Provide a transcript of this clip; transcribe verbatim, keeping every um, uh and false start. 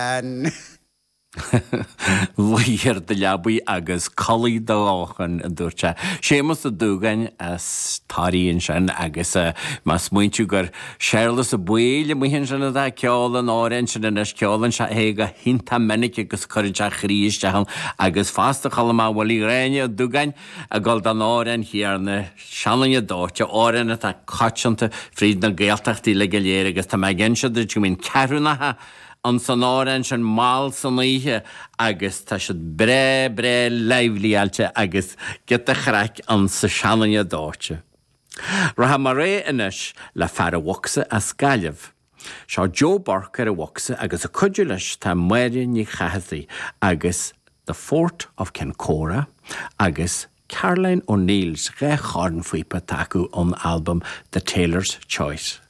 An Luigh ar do leabaidh agus codlaigh do lóchrann, a dúirt sé. Séamus Ó Dúgáin as Toraigh ansin agus má smaointiú gur Séarlas Ó Baoill amuigh ansin atá ag ceol an amhráin sin anois, ceolann sé é go hiontach minic agus cuireann sé a chroí isteach ann agus fosta chuala mé Willie Ghráinne Ó Dúgáin ag gabháil don amhrán chéanna, Seanduine Dóite, amhrán atá coitianta fríd na Gaeltachtaí uilig go léir agus tá mé ag inse duit go mbíonn ceathrúnacha ann san amhrán sin mall san oíche agus tá siad breá breá livelyáilte agus giota chraic ann sa Seanduine Dóite. Rachaidh mé ar aghaidh anois le fear an bhocsa as Gaillimh. Seo Joe Burke ar an bhocsa agus ag cuidiú leis tá Máire Ní Chathasaigh agus The Fort of Kincora agus Caroline O'Neill's dhá chornphíopa atá acu ón albam The Tailor's Choice.